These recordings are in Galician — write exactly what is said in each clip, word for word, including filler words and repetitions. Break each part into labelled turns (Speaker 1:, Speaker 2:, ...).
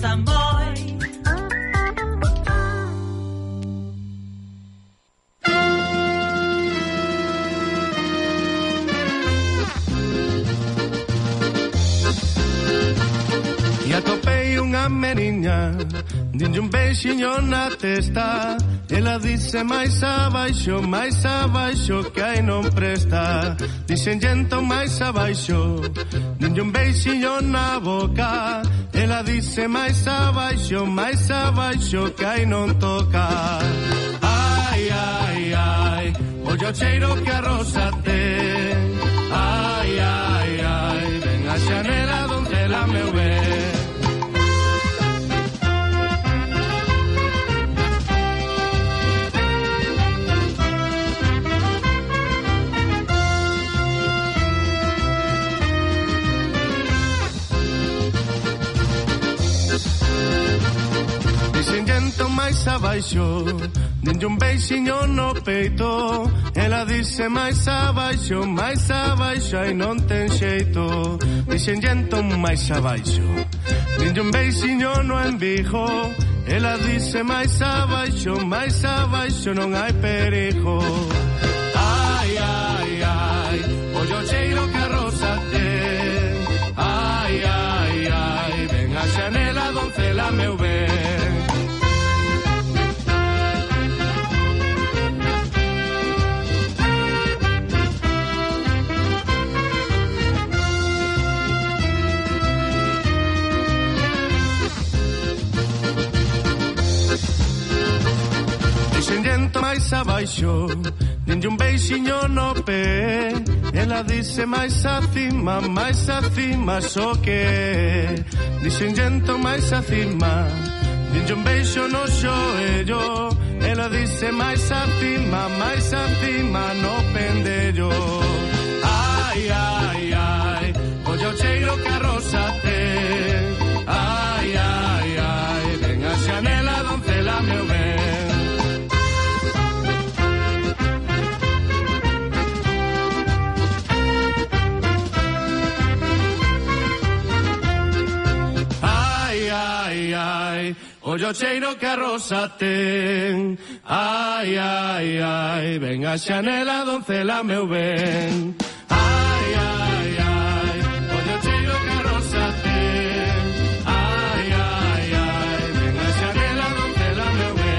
Speaker 1: rosa moi.
Speaker 2: E atopei unha meniña, dinlle un beixiño na testa. Ela dice máis abaixo, máis abaixo, que aí non presta. Dixen entón máis abaixo, dinlle un beixiño na boca. Ela dice máis abaixo, máis abaixo, que aí non toca. Ai, ai, ai, ollo cheiro que a rosa ten. Ai, ai, ai, ven a xanela donde la meu ben. Dixen máis abaixo, dinlle un beixiño no peito. Ela dice máis abaixo, máis abaixo, aí non ten xeito. Dixen entón máis abaixo, dinlle un beixiño no embigo. Ela dice máis abaixo, máis abaixo, non hai perigo. Ai, ai, ai, ollo cheiro que a rosa ten. Ai, ai, ai, ven a xanela doncela meu ben. Xento máis abaixo, dinlle un beixiño no pé. Ela dice máis acima, máis acima, só que dixen xento máis acima, dinlle un beixo no xoello. Ela dice máis acima, máis acima, no pendello. Ai, ai, ai, ollo cheiro que a rosa ten. Ai, ai, ai, ven a xanela doncela meu ben. Ollo cheiro que a rosa ten. Ai, ai, ai, ven a xanela doncela meu ben. Ai, ai, ai, ollo cheiro que a rosa ten. Ai, ai, ai, ven a xanela doncela meu ben.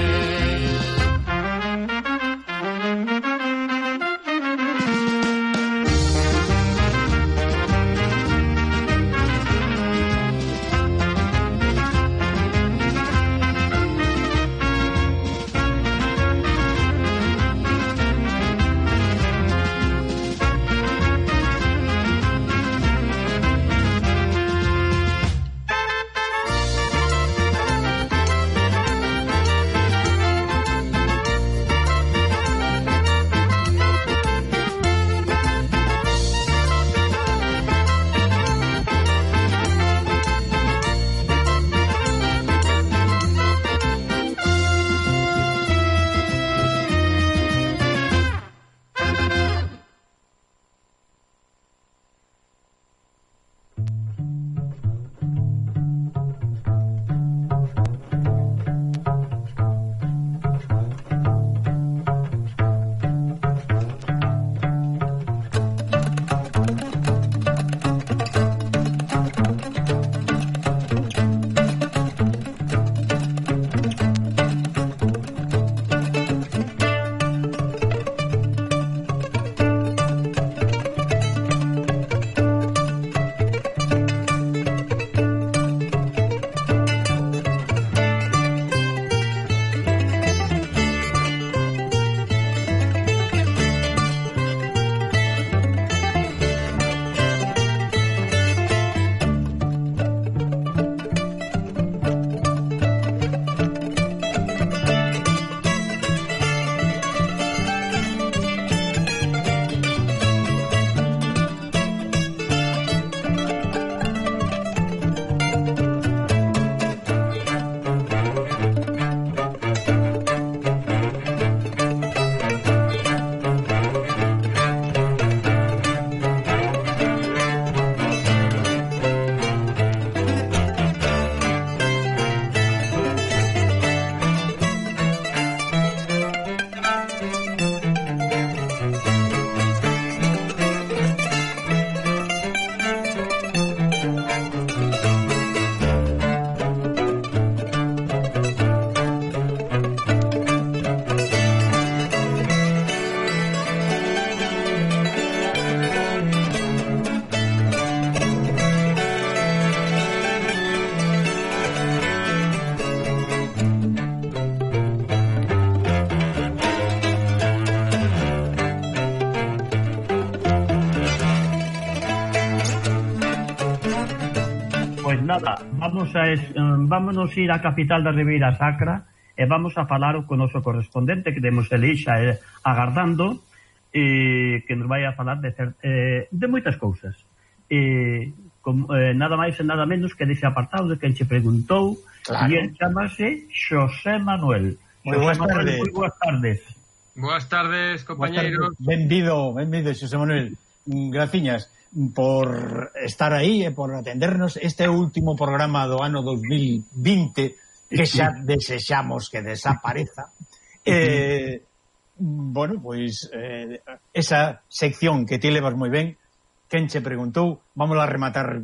Speaker 1: Pois nada, vamos a es, um, vámonos ir á capital da Ribeira Sacra e vamos a falar co noso correspondente que temos elixa eh, agardando e que nos vai a falar de, cer, eh, de moitas cousas. E com, eh, nada máis e nada menos que dese apartado de quen che preguntou, claro. E el chamase Xosé Manuel.
Speaker 3: Moi boas tardes.
Speaker 1: Moi boas tardes.
Speaker 4: Boas tardes, compañeiros.
Speaker 3: Benvido, benvido, Xosé Manuel. Graciñas por estar aí e por atendernos este último programa do ano dos mil vinte que xa desexamos que desapareza. Eh, bueno, pois eh, esa sección que ti levas moi ben, quen che preguntou, vamos a rematar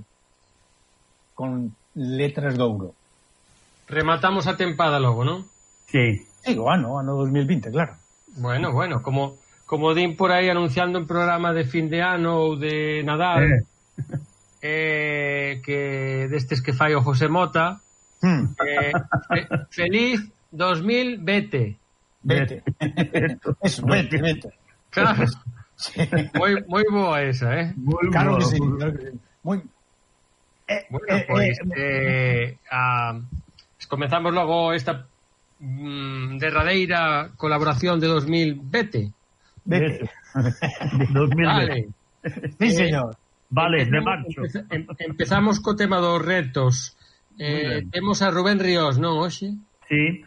Speaker 3: con letras de ouro.
Speaker 4: Rematamos a tempada logo, non?
Speaker 1: Sí.
Speaker 3: Sí, o ano, ano dos mil vinte, claro.
Speaker 4: Bueno, bueno, como como din por aí anunciando un programa de fin de ano ou de Nadal, eh. Eh, que destes que fai o José Mota, hmm. eh, fe, feliz dos mil vete.
Speaker 3: Vete. Eso, vete, vete.
Speaker 4: Claro. Sí. Moi, moi boa esa, eh?
Speaker 3: Muy claro, que sí, claro que sí. Muy...
Speaker 4: Eh, bueno, eh, pois pues, eh, eh, a... comenzamos logo esta mm, derradeira colaboración de dos mil vete.
Speaker 3: Vete.
Speaker 1: dos mil
Speaker 4: vale.
Speaker 3: Sí, señor.
Speaker 1: Eh, vale, de marcho.
Speaker 4: Empezamos, empezamos co tema dos retos. Eh, temos a Rubén Ríos, non, hoxe?
Speaker 1: Sí.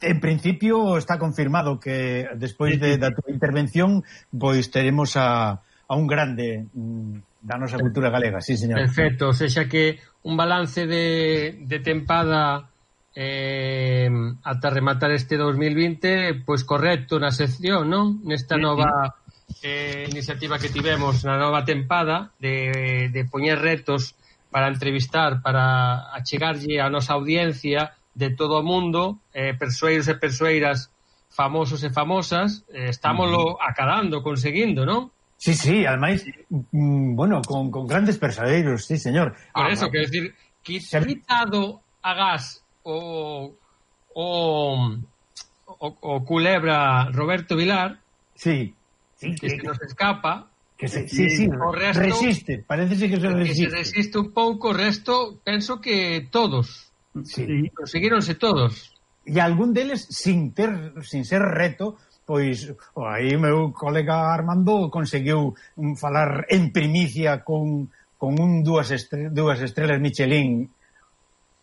Speaker 3: En principio está confirmado que despois de, da tua intervención pois teremos a, a un grande mm, da nosa cultura galega, sí, señor.
Speaker 4: Perfecto, o sea que un balance de, de tempada eh, ata rematar este dos mil vinte, pois correcto na sección, non? Nesta sí, nova eh, iniciativa que tivemos na nova tempada de, de poñer retos para entrevistar, para achegarlle a nosa audiencia de todo o mundo, eh, persoeiros e persoeiras famosos e famosas, eh, estámoslo acadando, conseguindo, non?
Speaker 3: Sí, sí, ademais, mm, bueno, con, con grandes persoeiros, sí, señor.
Speaker 4: Por ah, eso, quero decir, quitado a gas o o, o o culebra Roberto Vilar,
Speaker 3: sí,
Speaker 4: sí que, que se nos escapa,
Speaker 3: que se, sí, sí, o resto, resiste, parece que se resiste.
Speaker 4: Que se resiste un pouco, o resto, penso que todos.
Speaker 3: Sí.
Speaker 4: Conseguíronse todos.
Speaker 3: E algún deles sin ter sin ser reto, pois aí meu colega Armando conseguiu falar en primicia con, con un dúas, estre, dúas estrelas Michelin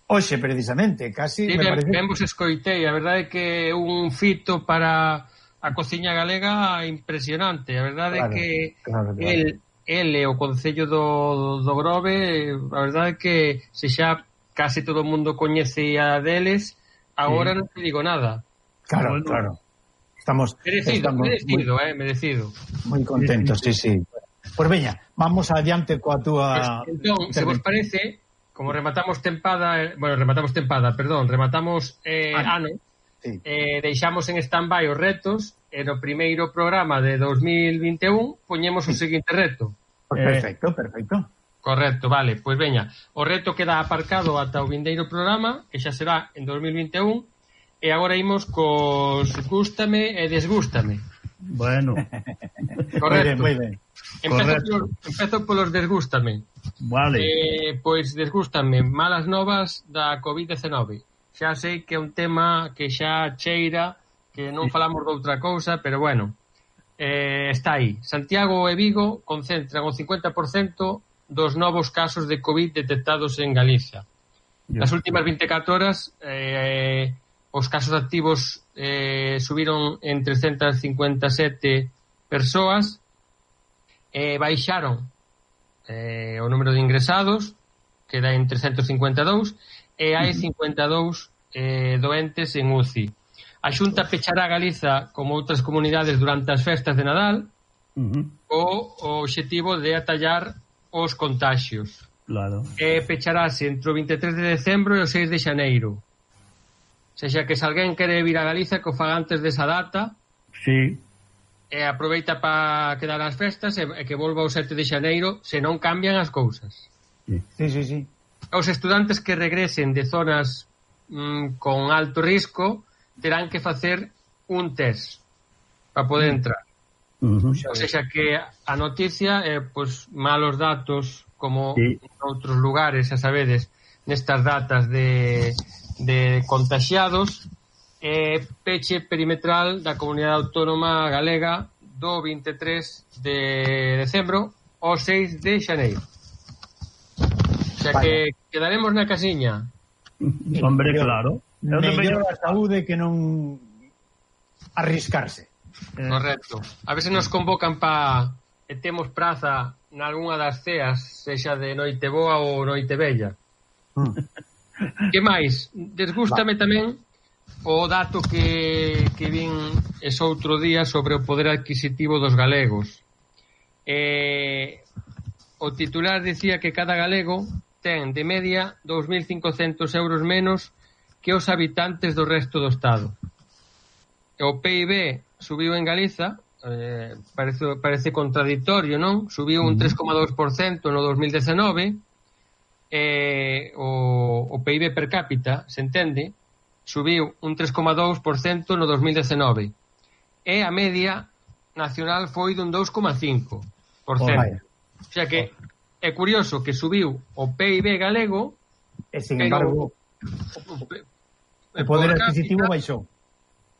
Speaker 3: hoxe precisamente, casi
Speaker 4: sí,
Speaker 3: me
Speaker 4: ben,
Speaker 3: parece...
Speaker 4: ben vos escoitei, a verdade é que un fito para a cociña galega impresionante, a verdade é claro, que claro, claro. el, el e o Concello do, do Grove, a verdade é que se xa casi todo o mundo coñecía deles, agora sí. Non te digo nada.
Speaker 3: Claro, bueno, claro. Estamos
Speaker 4: merecido,
Speaker 3: estamos
Speaker 4: merecido,
Speaker 3: muy,
Speaker 4: eh, merecido.
Speaker 3: Moi contentos, sí, sí. Pois veña, vamos adiante coa túa...
Speaker 4: Pues, entón, se vos parece, como rematamos tempada, bueno, rematamos tempada, perdón, rematamos eh, ah, ano, sí. eh, deixamos en stand-by os retos, e no primeiro programa de dos mil vinte e un poñemos o seguinte reto.
Speaker 3: Pues perfecto, eh, perfecto.
Speaker 4: Correcto, vale, pois veña, o reto queda aparcado ata o vindeiro programa, que xa será en dos mil vinte e un, e agora imos cos gústame e desgústame.
Speaker 1: Bueno.
Speaker 4: Correcto.
Speaker 3: Moi ben, moi ben.
Speaker 4: Empezo, por, empezo polos desgústame.
Speaker 1: Vale.
Speaker 4: Eh, pois desgústame malas novas da covid dezenove. Xa sei que é un tema que xa cheira, que non falamos de outra cousa, pero bueno, eh, está aí. Santiago e Vigo concentran o cincuenta por cento dos novos casos de COVID detectados en Galicia. Nas últimas vinte e catro horas eh, os casos activos eh, subiron en trescentas cincuenta e sete persoas, eh, baixaron eh, o número de ingresados, que dá en trescentos cincuenta e dous, e hai cincuenta e dous eh, doentes en U C I. A Xunta pechará Galiza como outras comunidades durante as festas de Nadal, uh-huh. o, o obxectivo de atallar os contaxios.
Speaker 1: Claro.
Speaker 4: E pecharase entre o vinte e tres de decembro e o seis de xaneiro. O sea, que se alguén quere vir a Galiza, que o faga antes desa data.
Speaker 1: Sí.
Speaker 4: E aproveita para quedar as festas e, e que volva o sete de xaneiro, se non cambian as cousas.
Speaker 3: Sí, sí, sí.
Speaker 4: Os estudantes que regresen de zonas mm, con alto risco terán que facer un test para poder entrar.
Speaker 1: Uh-huh.
Speaker 4: O sea que a noticia é eh, pues, malos datos como sí. En outros lugares, xa sabedes, nestas datas de, de contaxiados, e peche perimetral da Comunidade Autónoma Galega do vinte e tres de decembro ao seis de xaneiro. O sea que quedaremos na casiña.
Speaker 1: Hombre, claro.
Speaker 3: Mellor a saúde que non arriscarse.
Speaker 4: Correcto. A ver se nos convocan pa e temos praza nalgúna das ceas, sexa de noite boa ou noite bella. Mm. Que máis? Desgústame Va. tamén o dato que, que vin ese outro día sobre o poder adquisitivo dos galegos. Eh, o titular dicía que cada galego ten de media dous mil cincocentos euros menos que os habitantes do resto do Estado. O P I B subiu en Galiza, eh, parece, parece contradictorio, non? Subiu un tres coma dous por cento no dos mil dezenove, eh, o, o P I B per cápita, se entende, subiu un tres coma dous por cento no dos mil dezenove, e a media nacional foi dun dous coma cinco por cento. Oh, o sea que é curioso que subiu o P I B galego,
Speaker 3: e sin embargo o, o, o poder adquisitivo baixou.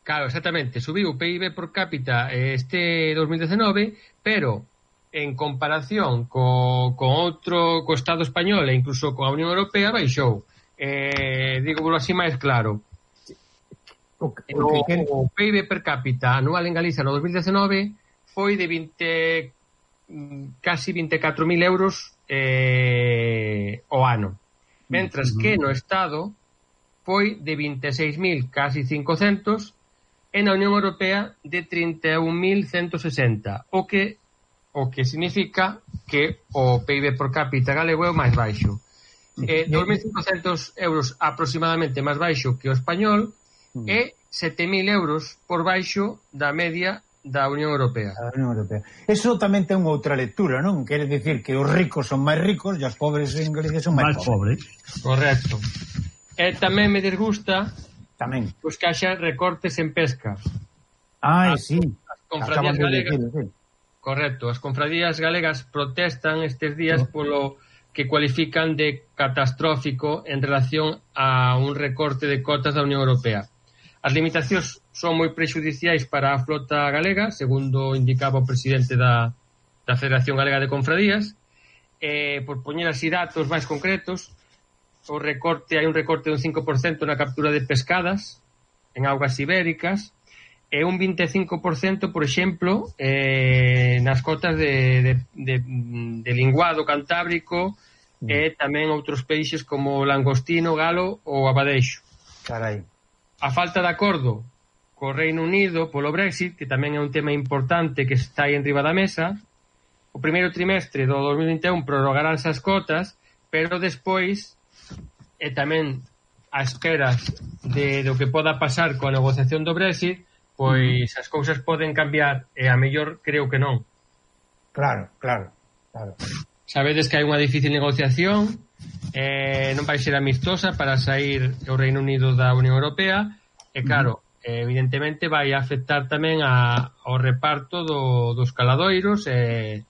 Speaker 4: Claro, exactamente, subiu o P I B por cápita este dos mil dezenove, pero en comparación co, co outro, co Estado español e incluso coa Unión Europea baixou. Eh, digo así máis claro. O, o, o P I B per cápita anual en Galicia no dos mil dezenove foi de vinte, casi vinte e catro mil euros eh, o ano. Mentras que no Estado foi de vinte e seis mil, casi cincocentos, e na Unión Europea de trinta e un mil ciento sesenta, o que o que significa que o P I B por cápita galego é o máis baixo. Eh, dos mil cincocentos euros aproximadamente máis baixo que o español e sete mil euros por baixo da media da Unión Europea.
Speaker 3: A Unión Europea. Eso tamén ten outra lectura, non? Quere dicir que os ricos son máis ricos e os pobres en Galicia son máis pobres.
Speaker 1: pobres.
Speaker 4: Correcto. E tamén me desgusta
Speaker 3: tamén
Speaker 4: pois que haxa recortes en pesca.
Speaker 3: Ah, as, sí.
Speaker 4: As confradías galegas.
Speaker 3: Decir, sí.
Speaker 4: Correcto, as confradías galegas protestan estes días no. polo que cualifican de catastrófico en relación a un recorte de cotas da Unión Europea. As limitacións son moi prexudiciais para a flota galega, segundo indicaba o presidente da, da Federación Galega de Confradías. Eh, por poñer así datos máis concretos, o recorte, hai un recorte dun cinco por cento na captura de pescadas en augas ibéricas e un vinte e cinco por cento, por exemplo, eh, nas cotas de, de, de, de linguado cantábrico mm. e tamén outros peixes como o langostino, galo ou abadeixo.
Speaker 3: Carai.
Speaker 4: A falta de acordo co Reino Unido polo Brexit, que tamén é un tema importante que está aí en riba da mesa, o primeiro trimestre do dos mil vinte e un prorrogaránse as cotas, pero despois e tamén a esperas de do que poda pasar coa negociación do Brexit, pois as cousas poden cambiar e a mellor creo que non.
Speaker 3: Claro, claro, claro.
Speaker 4: Sabedes que hai unha difícil negociación, eh, non vai ser amistosa para sair o Reino Unido da Unión Europea e claro, eh, evidentemente vai afectar tamén a, ao reparto do, dos caladoiros e,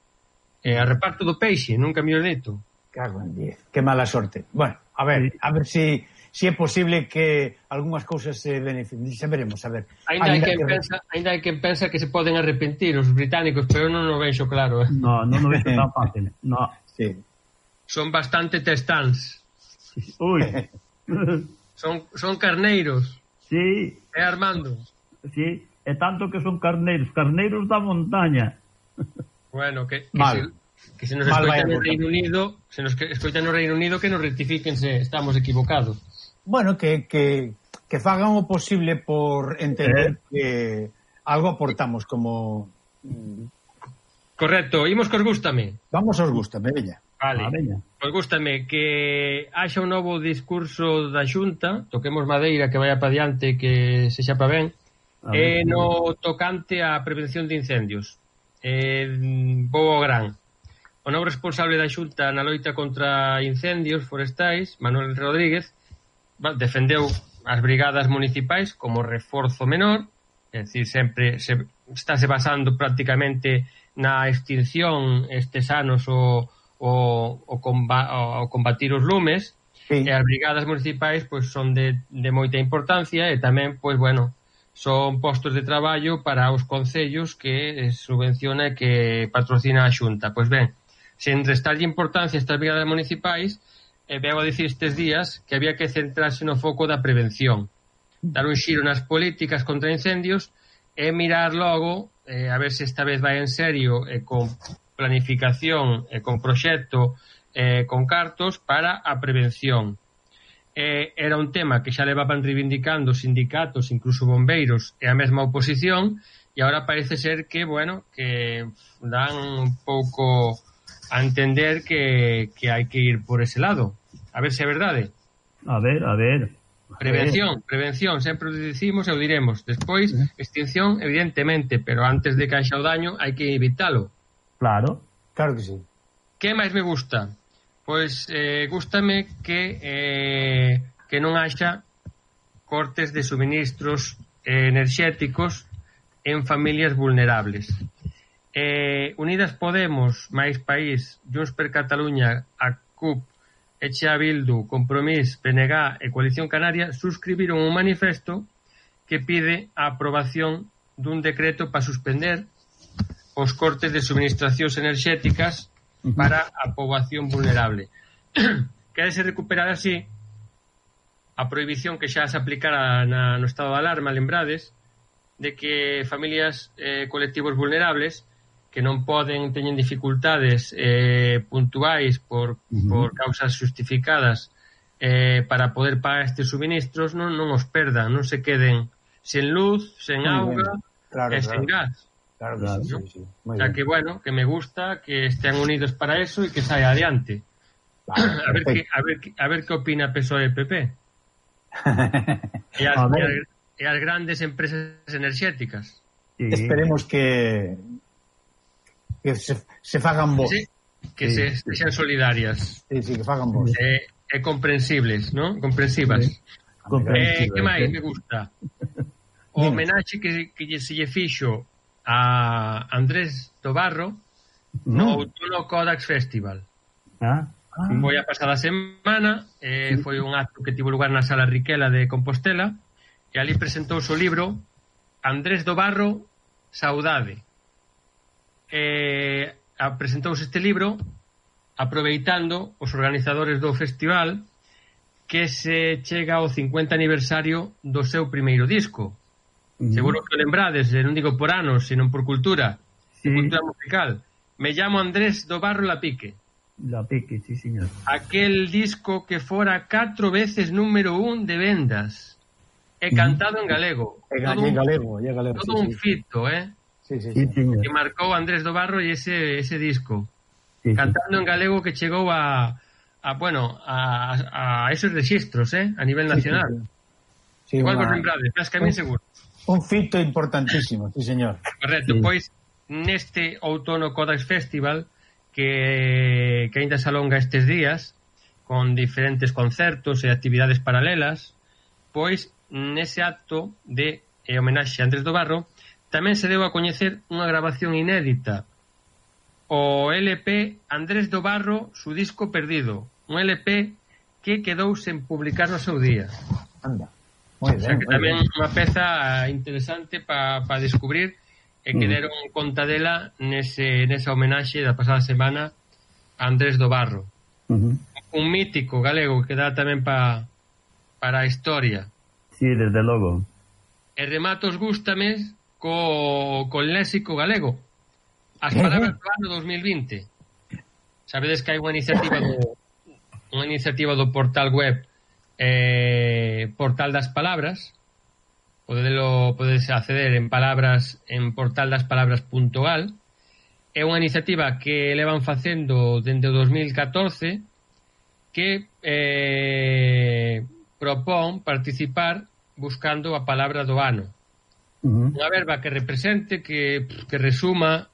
Speaker 4: e a reparto do peixe, nunca mellor dito.
Speaker 3: Cago en diez, que mala sorte. Bueno, a ver, a ver si si é posible que algunhas cousas se beneficien, xa veremos, a ver.
Speaker 4: Ainda hai quen que... pensa, ainda hai quen pensa que se poden arrepentir os británicos, pero non o vexo claro. Eh?
Speaker 1: No, non o vexo tan fácil. No.
Speaker 3: Sí.
Speaker 4: Son bastante testans.
Speaker 1: Uy.
Speaker 4: son son carneiros.
Speaker 1: Sí.
Speaker 4: É Armando.
Speaker 1: Sí, é tanto que son carneiros, carneiros da montaña.
Speaker 4: Bueno, que, que se, que se nos escoitan no Reino Unido, se nos escoitan no Reino Unido que nos rectifíquense, estamos equivocados.
Speaker 3: Bueno, que, que, que fagan o posible por entender eh. que algo aportamos como...
Speaker 4: Correcto, imos cos gústame.
Speaker 3: Vamos aos gústame, veña.
Speaker 4: Vale, ah, veña. Pues gústame que haxa un novo discurso da Xunta, toquemos madeira que vaya pa diante, que se xa pa ben, e no tocante á prevención de incendios. Eh, vou ao gran. O novo responsable da Xunta na loita contra incendios forestais, Manuel Rodríguez, defendeu as brigadas municipais como reforzo menor, é dicir, sempre se, estáse basando prácticamente na extinción estes anos o, o, o, comba, o combatir os lumes, Sí. E as brigadas municipais pois son de, de moita importancia e tamén, pois, bueno, son postos de traballo para os concellos que subvenciona e que patrocina a Xunta. Pois ben, sen restarlle importancia a estas brigadas municipais, eh, veo a dicir estes días que había que centrarse no foco da prevención, dar un xiro nas políticas contra incendios e mirar logo, eh, a ver se esta vez vai en serio e eh, con planificación e eh, con proxecto eh, con cartos para a prevención. Eh, era un tema que xa levaban reivindicando sindicatos, incluso bombeiros e a mesma oposición, e agora parece ser que, bueno, que dan un pouco a entender que, que hai que ir por ese lado. A ver se é verdade.
Speaker 1: A ver, a ver.
Speaker 4: Prevención, prevención, sempre o dicimos e o diremos. Despois, extinción, evidentemente, pero antes de que haxa o daño hai que evitalo.
Speaker 1: Claro.
Speaker 3: Claro que sí.
Speaker 4: Que máis me gusta? Pois eh, gústame que eh, que non haxa cortes de suministros eh, enerxéticos en familias vulnerables. Eh, Unidas Podemos, máis País, Junts per Catalunya, a C U P, Echea Bildu, Compromís, P N G e Coalición Canaria suscribiron un manifesto que pide a aprobación dun decreto para suspender os cortes de suministracións enerxéticas para a poboación vulnerable. Querese recuperar así a prohibición que xa se aplicara na, no estado de alarma, lembrades, de que familias eh, colectivos vulnerables que non poden, teñen dificultades eh, puntuais por, uh-huh. por causas justificadas eh, para poder pagar estes suministros, non, non os perdan, non se queden sen luz, sen Muy auga claro, e claro. sen gas.
Speaker 3: Claro que claro, sí, ¿no? sí, sí.
Speaker 4: O sea bien. que, bueno, que me gusta que estén unidos para eso e que saia adiante. Vale, a, ver que, a, ver, a ver que opina P S O E e P P. e, as, e, as, e as grandes empresas enerxéticas.
Speaker 3: Sí. Esperemos que que se, se fagan vos.
Speaker 4: Sí, que sí. se sean solidarias.
Speaker 3: Sí, sí, que fagan vos.
Speaker 4: E eh, comprensibles, ¿no? Comprensivas. Sí. Eh, que máis me gusta? O homenaxe que, que se lle fixo a Andrés Dobarro no Outono Codax Festival.
Speaker 1: Ah, ah.
Speaker 4: Foi a pasada semana, eh, foi un acto que tivo lugar na Sala Riquela de Compostela e ali presentou o libro Andrés Dobarro, Saudade. Eh, presentouse este libro aproveitando os organizadores do festival que se chega ao cincuenta aniversario do seu primeiro disco. Uh-huh. Seguro que lembrades, non digo por anos, sino por cultura, sí. cultura musical. Me llamo Andrés Dobarro Lapique.
Speaker 1: Lapique, sí, señor.
Speaker 4: Aquel disco que fora catro veces número un de vendas e cantado uh-huh. en galego.
Speaker 3: E todo en galego,
Speaker 4: un,
Speaker 3: e galego.
Speaker 4: Todo
Speaker 3: sí,
Speaker 4: un
Speaker 3: sí.
Speaker 4: fito, eh?
Speaker 3: Sí, sí, sí.
Speaker 1: sí
Speaker 4: que marcou Andrés Dobarro e ese, ese disco.
Speaker 1: Sí,
Speaker 4: cantando sí. en galego que chegou a, a bueno, a, a esos registros, eh? A nivel nacional. Sí, sí, sí. Igual una... vos lembrades, mas que a mí seguro.
Speaker 3: Un fito importantísimo, sí, señor.
Speaker 4: Correcto, sí. Pois neste Outono Codax Festival que, que ainda se alonga estes días con diferentes concertos e actividades paralelas, pois nese acto de eh, homenaxe a Andrés Dobarro tamén se deu a coñecer unha grabación inédita, o L P Andrés Dobarro, su disco perdido, un L P que quedou sen publicar no seu día.
Speaker 3: Anda. Muy bien,
Speaker 4: o sea que tamén bien. Unha peza interesante para pa descubrir e que deron conta dela nese, nesa homenaxe da pasada semana a Andrés Dobarro.
Speaker 1: Uh-huh.
Speaker 4: Un mítico galego que dá tamén pa, para a historia.
Speaker 1: Sí, desde logo.
Speaker 4: E rematos gústame co, co léxico galego. As palabras do ano dos mil vinte. Sabedes que hai unha iniciativa do unha iniciativa do portal web eh, Portal das Palabras. Podelo, podes acceder en palabras en portal das palabras punto gal. É unha iniciativa que levan facendo dende o dos mil catorce que eh, propón participar buscando a palabra do ano.
Speaker 1: Uh-huh.
Speaker 4: Unha verba que represente, que, que resuma,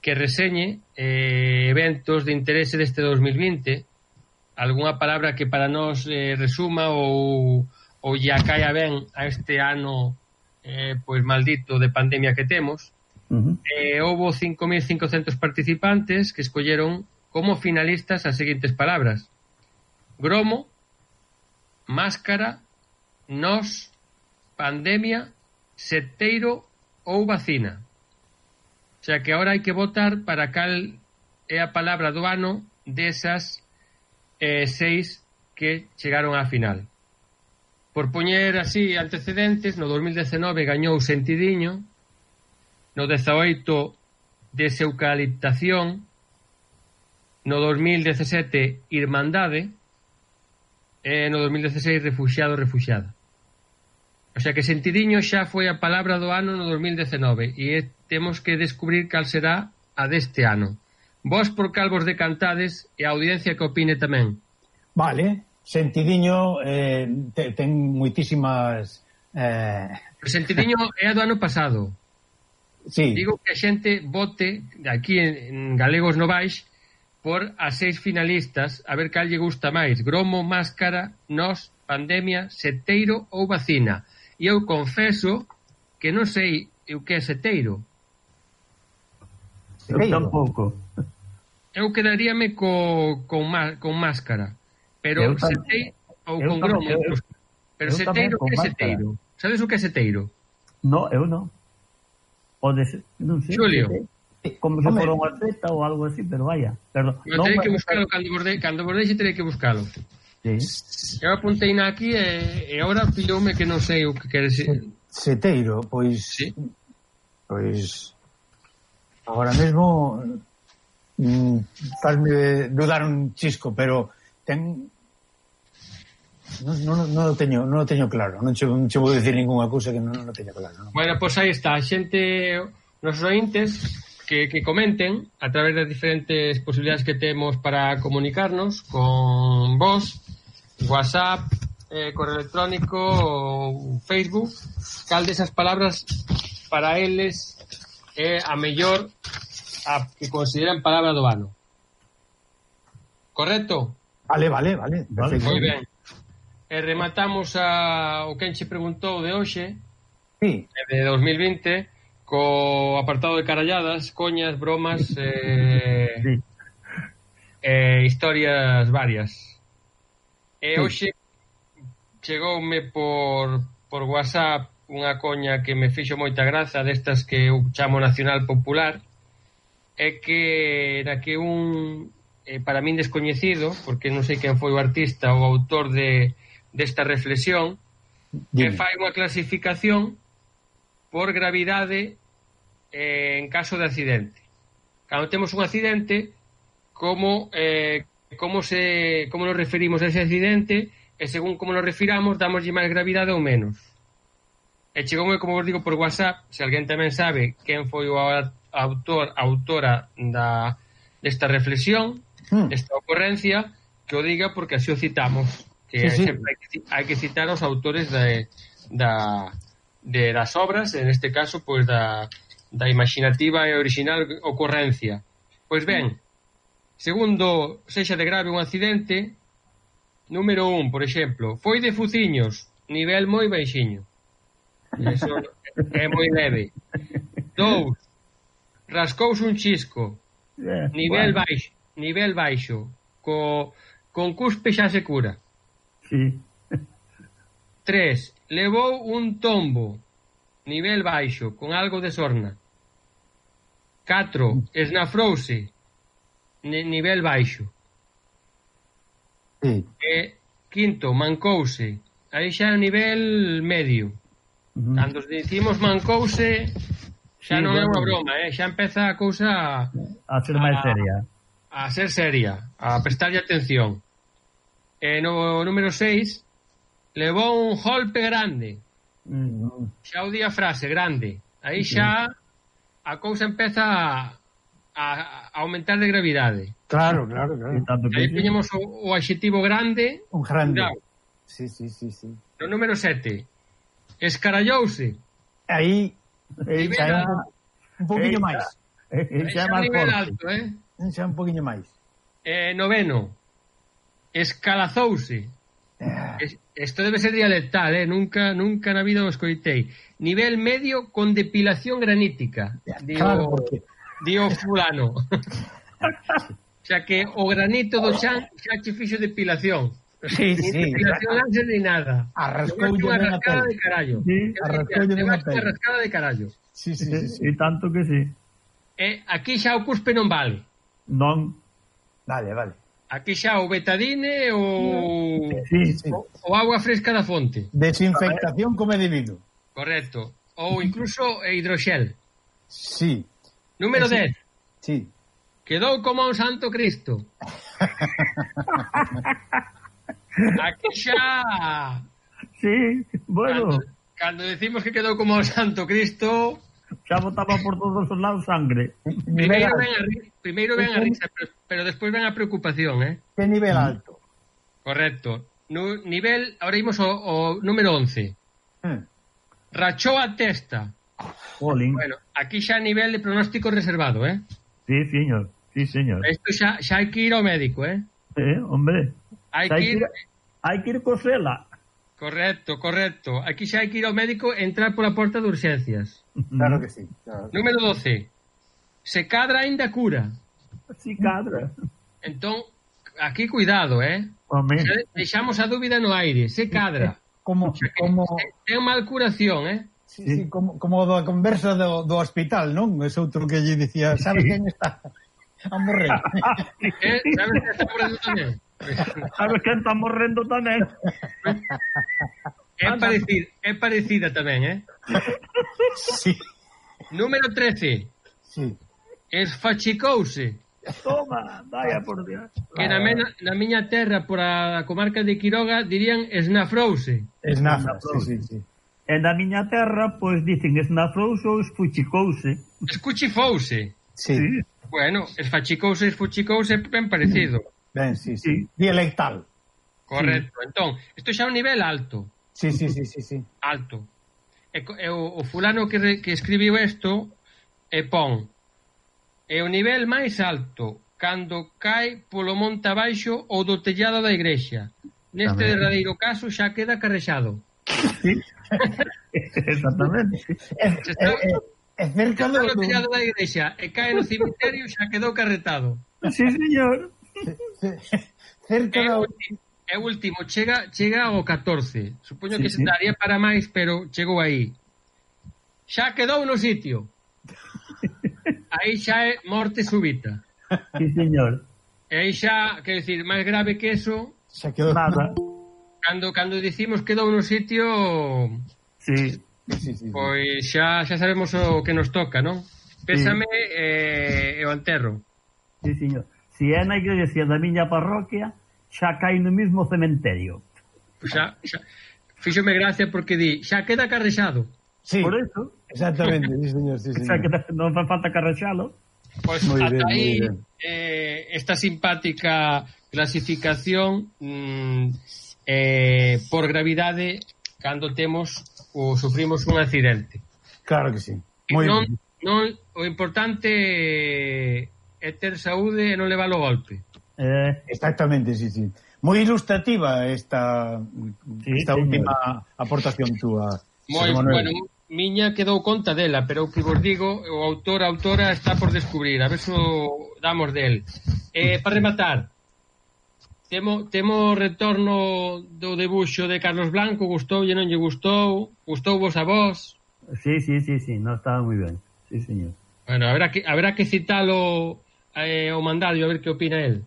Speaker 4: que reseñe eh, eventos de interese deste dos mil vinte, algunha palabra que para nós eh, resuma ou, ou ya caia ben a este ano eh, pois maldito de pandemia que temos.
Speaker 1: Uh-huh.
Speaker 4: Eh, houbo cinco mil cincocentos participantes que escolleron como finalistas as seguintes palabras: gromo, máscara, nós, pandemia, seteiro ou vacina. O sea que agora hai que votar para cal é a palabra do ano desas eh, seis que chegaron á final. Por poñer así antecedentes, no dos mil dezenove gañou Sentidiño, no dezaoito Deseucaliptación, no dos mil dezasete Irmandade e no dos mil dezaseis Refuxiado, Refuxiada. O sea que Sentidiño xa foi a palabra do ano no dos mil dezenove e temos que descubrir cal será a deste ano. Vos por cal vos decantades e a audiencia que opine tamén.
Speaker 3: Vale, Sentidiño eh, te, ten moitísimas... Eh...
Speaker 4: Sentidiño é a do ano pasado.
Speaker 3: Sí.
Speaker 4: Digo que a xente vote aquí en, en Galegos Novais por as seis finalistas a ver cal lle gusta máis. Gromo, máscara, nós, pandemia, seteiro ou vacina. E eu confeso que non sei o que é seteiro.
Speaker 1: Eu tampouco.
Speaker 4: Eu quedaríame co, con, má, con máscara. Pero seteiro ou con gromo. Eu, pero seteiro, o que é seteiro? Sabes o que é seteiro?
Speaker 1: No, eu non. Pode ser, non sei.
Speaker 4: Xulio.
Speaker 1: Como se fora unha zeta ou algo así, pero vaya. Pero,
Speaker 4: non terei que buscalo cando borde, cando bordeixe terei que buscalo.
Speaker 1: Sí.
Speaker 4: Eu apuntei na aquí e, e agora pilloume que non sei o que quere ser.
Speaker 3: Seteiro, pois...
Speaker 4: Sí.
Speaker 3: Pois... Agora mesmo... Mm, fazme dudar un chisco, pero ten... Non, non, non o teño, non o teño claro. Non che, non che vou dicir ninguna cousa que non, non o teño claro. Non?
Speaker 4: Bueno, pois pues aí está. A xente, nos ointes, que, que comenten a través das diferentes posibilidades que temos para comunicarnos con vos, WhatsApp, eh, correo electrónico ou Facebook, cal desas palabras para eles é a mellor a que consideran palabra do ano. Correcto?
Speaker 3: Vale, vale, vale. Perfecto.
Speaker 4: Moi ben. E rematamos a, o que enche preguntou de hoxe,
Speaker 3: sí,
Speaker 4: de dos mil vinte, co apartado de caralladas, coñas, bromas, eh, sí. eh, historias varias. E hoxe chegoume por, por WhatsApp unha coña que me fixo moita graza, destas que eu chamo Nacional Popular, é que era que un, eh, para min descoñecido, porque non sei quen foi o artista ou autor de desta reflexión, que fai unha clasificación por gravidade eh, en caso de accidente. Cando temos un accidente, como eh, como se como nos referimos a ese accidente, e según como nos refiramos, damoslle máis gravidade ou menos. E chegoume, como vos digo, por WhatsApp, se alguén tamén sabe quen foi o autor, autora da desta reflexión, mm. desta ocorrencia, que o diga, porque así o citamos. Que sí, sí. Sempre hai que, hai que citar os autores de, da, de das obras, en este caso, pois da, da imaginativa e original ocorrencia. Pois ben, segundo sexa de grave un accidente, número un, por exemplo, foi de fuciños, nivel moi baixiño. Eso é moi leve. Dous, rascouse un chisco, nivel baixo, nivel baixo, co, con cuspe xa se cura.
Speaker 1: Sí.
Speaker 4: Tres, levou un tombo, nivel baixo, con algo de sorna. Catro, esnafrouse, nivel baixo.
Speaker 3: Sí.
Speaker 4: E quinto, mancouse, aí xa é nivel medio. Uh-huh. Cando dicimos mancouse, xa sí, non bueno. É unha broma, eh? Xa empeza a cousa
Speaker 1: a ser máis seria.
Speaker 4: A ser seria, a prestarlle atención. E no número seis, levou un golpe grande. Mm. Xa o di a frase, grande. Aí xa a cousa empeza a, a aumentar de gravidade.
Speaker 3: Claro, claro, claro.
Speaker 4: Aí poñemos o, o adxetivo grande.
Speaker 3: Un grande.
Speaker 4: Claro.
Speaker 3: Sí, sí, sí, sí.
Speaker 4: No número sete, escarallouse.
Speaker 3: Aí, aí xa un poquinho máis.
Speaker 4: Xa é nivel alto, eh?
Speaker 3: Xa un poquinho máis.
Speaker 4: Eh, noveno, escalazouse. Isto debe ser dialectal, eh? Nunca, nunca na vida o escoitei. Nivel medio con depilación granítica. Dio, claro, porque... dio fulano. O sea que o granito do chan xa che fixo depilación.
Speaker 3: Sí, sí.
Speaker 4: Inspiración láser ni nada.
Speaker 3: Arrascoulle
Speaker 4: unha
Speaker 3: ben a
Speaker 4: rascada
Speaker 3: pel.
Speaker 4: de carallo.
Speaker 1: Sí,
Speaker 3: arrascoulle ben a pel.
Speaker 4: Unha rascada de carallo.
Speaker 3: Sí, sí, sí, sí.
Speaker 1: E tanto que sí.
Speaker 4: E aquí xa o cuspe non vale.
Speaker 1: Non.
Speaker 3: Vale, vale.
Speaker 4: Aquí xa o betadine ou
Speaker 1: Sí,
Speaker 3: Sí.
Speaker 4: o, o agua fresca da fonte.
Speaker 3: Desinfectación como é debido.
Speaker 4: Correcto. Ou incluso hidroxel.
Speaker 3: Sí,
Speaker 4: Número
Speaker 3: Sí.
Speaker 4: dez.
Speaker 3: sí.
Speaker 4: Quedou como un santo Cristo. Aquí xa...
Speaker 1: Sí, bueno,
Speaker 4: Cando, cando decimos que quedou como un santo Cristo,
Speaker 1: xa botaba por todos os lados sangre.
Speaker 4: primeiro ven a, ri- primeiro ven a risa, pero, pero despois ven a preocupación, eh?
Speaker 3: Que nivel alto.
Speaker 4: Correcto. Nu, nivel, ahora imos o, o número once.
Speaker 3: Hmm.
Speaker 4: Rachou a testa.
Speaker 1: Jolín.
Speaker 4: Bueno, aquí xa nivel de pronóstico reservado, eh?
Speaker 1: Sí, señor. Sí, señor.
Speaker 4: Isto xa, xa hai que ir ao médico, eh?
Speaker 1: Eh, hombre.
Speaker 4: Hai
Speaker 1: Xa
Speaker 4: que ir...
Speaker 1: hai que ir cosela.
Speaker 4: Correcto, correcto. Aquí xa hai que ir ao médico e entrar pola porta de urxencias.
Speaker 3: Claro que sí. Claro.
Speaker 4: Número doce. Se cadra aínda cura.
Speaker 1: Sí, cadra.
Speaker 4: Entón, aquí cuidado, eh?
Speaker 1: Hombre.
Speaker 4: Xa deixamos a dúbida no aire. Se cadra.
Speaker 3: Como, como,
Speaker 4: Ten mal curación, eh?
Speaker 3: sí, sí, como, como da conversa do, do hospital, non? Ese outro que lle dicía, sabes quen está a morrer?
Speaker 4: eh? Sabes que está morrendo tamén?
Speaker 1: Sabes quen está morrendo tamén?
Speaker 4: É parecida, é parecida tamén, eh?
Speaker 3: Sí,
Speaker 4: Número trece.
Speaker 3: sí.
Speaker 4: Esfachicouse.
Speaker 1: Toma, vaya por Dios.
Speaker 4: Que na, mena, na miña terra, por a comarca de Quiroga, dirían esnafrouse.
Speaker 3: Esnafa, sí, sí, sí.
Speaker 1: E na miña terra, pois dicen esnafrouse ou esfuchicouse.
Speaker 4: Escuchifouse.
Speaker 3: Sí,
Speaker 1: Sí,
Speaker 4: Bueno, esfachicouse, esfuchicouse, ben parecido.
Speaker 3: ben, sí, sí.
Speaker 1: Sí.
Speaker 3: Dialectal.
Speaker 4: Correcto. Entón, isto xa é un nivel alto.
Speaker 3: Sí, sí, sí, sí, sí.
Speaker 4: Alto. E, co- e o, o fulano que, re, que escribiu isto e pon é o nivel máis alto cando cae polo monte abaixo ou do tellado da igrexa. Neste
Speaker 1: Tamén.
Speaker 4: derradeiro caso xa queda carrexado.
Speaker 1: sí. Exactamente.
Speaker 3: É,
Speaker 4: Se
Speaker 3: é,
Speaker 4: está,
Speaker 3: é, é cerca do...
Speaker 4: no
Speaker 3: do
Speaker 4: tellado da igrexa e cae no cemiterio xa quedou carretado.
Speaker 1: Sí, señor.
Speaker 3: cerca
Speaker 4: É
Speaker 3: da...
Speaker 4: o último, é o último, chega, chega ao catorce. Supoño
Speaker 1: Sí,
Speaker 4: que
Speaker 1: sí.
Speaker 4: se daría para máis, pero chegou aí. Xa quedou no sitio. Aí xa é morte súbita.
Speaker 1: Sí, señor.
Speaker 4: E aí xa, quer decir, máis grave que eso,
Speaker 3: Xa quedou...
Speaker 1: Nada.
Speaker 4: cando cando dicimos quedou no sitio,
Speaker 1: Sí.
Speaker 3: Sí, sí, sí.
Speaker 4: pois xa xa sabemos o que nos toca, non? Pésame e, e o enterro.
Speaker 1: Sí, señor. Si é na iglesia da miña parroquia, xa cae no mismo cementerio.
Speaker 4: Pois xa, xa fíxome gracia porque di, xa queda carrexado.
Speaker 3: Sí,
Speaker 1: Por eso,
Speaker 3: exactamente, sí, señor, sí,
Speaker 1: xa
Speaker 3: señor.
Speaker 1: que non fa falta carrexalo.
Speaker 4: Pois
Speaker 3: Moi
Speaker 4: ata
Speaker 3: ben, moi
Speaker 4: aí
Speaker 3: ben.
Speaker 4: eh, esta simpática clasificación mm, eh, por gravidade cando temos ou sufrimos un accidente.
Speaker 3: Claro que sí. Moi
Speaker 4: non,
Speaker 3: ben.
Speaker 4: non, o importante é ter saúde e non levar o golpe.
Speaker 1: Eh,
Speaker 3: Exactamente, sí, sí. Moi ilustrativa esta
Speaker 1: Sí,
Speaker 3: esta
Speaker 1: señor.
Speaker 3: última aportación túa.
Speaker 4: Moi,
Speaker 3: José Manuel.
Speaker 4: bueno, miña quedou conta dela, pero o que vos digo, o autor, a autora está por descubrir, a ver se o damos del. Eh, para rematar, temo, temo retorno do debuxo de Carlos Blanco, gustou e non lle gustou, gustou vos a vos.
Speaker 1: sí, sí, sí, sí, no estaba moi ben. Sí, señor.
Speaker 4: Bueno, habrá que, habrá que citalo eh, o mandadio, a ver que opina él.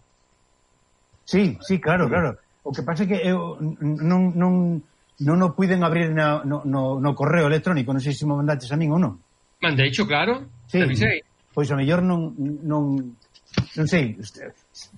Speaker 3: Sí, sí, claro, claro. O que pasa é que eu non non non o puiden abrir na, no, no, no correo electrónico, non sei se me mandaches a min ou non.
Speaker 4: Mandei, xo, claro.
Speaker 3: Sí.
Speaker 4: Te avisei.
Speaker 3: Pois a mellor non non non sei,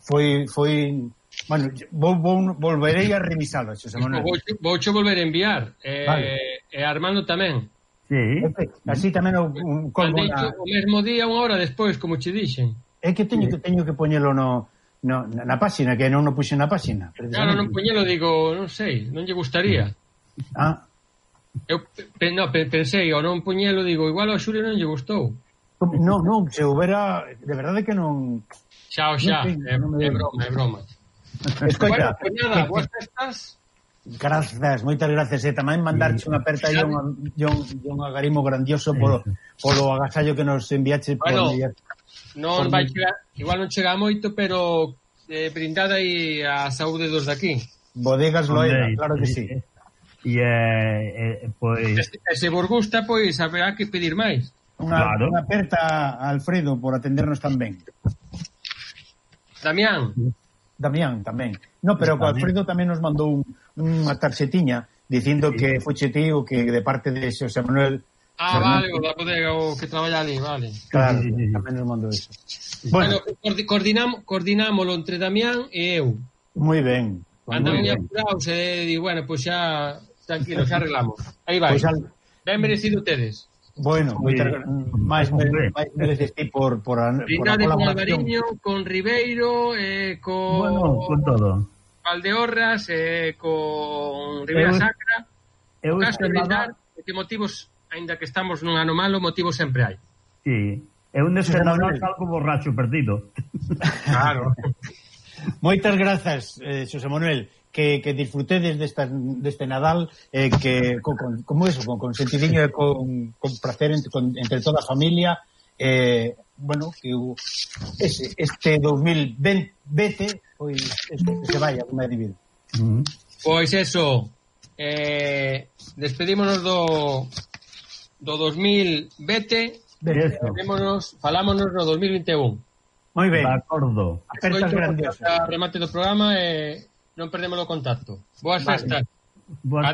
Speaker 3: foi foi bueno, vou, vou volverei a revisalo, Xosé Manuel.
Speaker 4: Vou, vou xo volver a enviar. Eh,
Speaker 3: Vale.
Speaker 4: E Armando tamén.
Speaker 1: Sí.
Speaker 3: Así tamén o un colmo
Speaker 4: Mandei
Speaker 3: na...
Speaker 4: o mesmo día, unha hora despois, como che dixen.
Speaker 3: É que teño que teño que poñelo no, no na, na páxina, que non o puxen na páxina.
Speaker 4: Claro, non poñelo, digo, non sei, non lle gustaría.
Speaker 3: Ah,
Speaker 4: Eu pe, no, pe, pensei, ou non poñelo, digo, igual ao Xulio non lle gustou.
Speaker 3: non, non, se houbera, de verdade que non...
Speaker 4: Xa o xa,
Speaker 3: Non sei,
Speaker 4: é,
Speaker 3: non me
Speaker 4: é
Speaker 3: digo.
Speaker 4: broma, é broma.
Speaker 3: Escoita,
Speaker 4: Bueno, pues nada, boas festas.
Speaker 3: grazas, moitas gracias, e tamén mandarche unha aperta e un, un, un agarimo grandioso polo, polo agasallo que nos enviache por
Speaker 4: Bueno,
Speaker 3: día.
Speaker 4: Non
Speaker 3: Por
Speaker 4: vai
Speaker 3: mí.
Speaker 4: chegar, igual non chega moito, pero eh, brindada aí a saúde dos daqui.
Speaker 3: Bodegas Loela, claro que sí.
Speaker 1: E, eh, pois...
Speaker 4: E se vos gusta, pois, haberá que pedir máis.
Speaker 3: Unha,
Speaker 1: claro.
Speaker 3: unha aperta a Alfredo por atendernos tan ben.
Speaker 4: Damián.
Speaker 3: Damián tamén. No, pero o Alfredo tamén nos mandou un, unha tarxetiña dicindo sí. que foche tío que de parte de Xosé Manuel.
Speaker 4: Ah, vale, o da bodega o que traballa ali, vale.
Speaker 3: Claro, sí, sí, sí. Tamén nos mandou eso.
Speaker 4: Bueno, bueno coordinam, coordinámoslo entre Damián e eu.
Speaker 3: Moi ben.
Speaker 4: Andan moi apurados e digo, bueno, pois pues xa tranquilo, xa arreglamos. Aí vai. Pues al... Ben merecido tedes.
Speaker 3: Bueno, moitas máis mereces ti por, por, a, por a
Speaker 4: colaboración. Con Alvariño, con Ribeiro, eh, con...
Speaker 1: Bueno, con todo.
Speaker 4: Valdeorras, eh, con Ribera eu, Sacra. Eu o caso de Rindar, que motivos, aínda que estamos nun ano malo, motivos sempre hai.
Speaker 1: Sí. Eu neste Nadal salgo borracho perdido.
Speaker 4: Claro.
Speaker 3: Moitas grazas, eh, Xosé Manuel. Que, que disfrutedes desta, deste Nadal eh, que con, con, como eso, con consentidiño e con, con placer entre, con, entre toda a familia eh, bueno, que o, ese, este dos mil vinte pois eso, que se vaya unha divida.
Speaker 4: Uh-huh. Pois eso eh, despedímonos do do dos mil vinte falámonos, falámonos no dos mil vinte e un.
Speaker 3: Moi ben.
Speaker 1: De acordo.
Speaker 3: Apertas grandiosas.
Speaker 4: Remate do programa e eh, non perdemos o contacto. Boas vale. Festas.
Speaker 1: Boas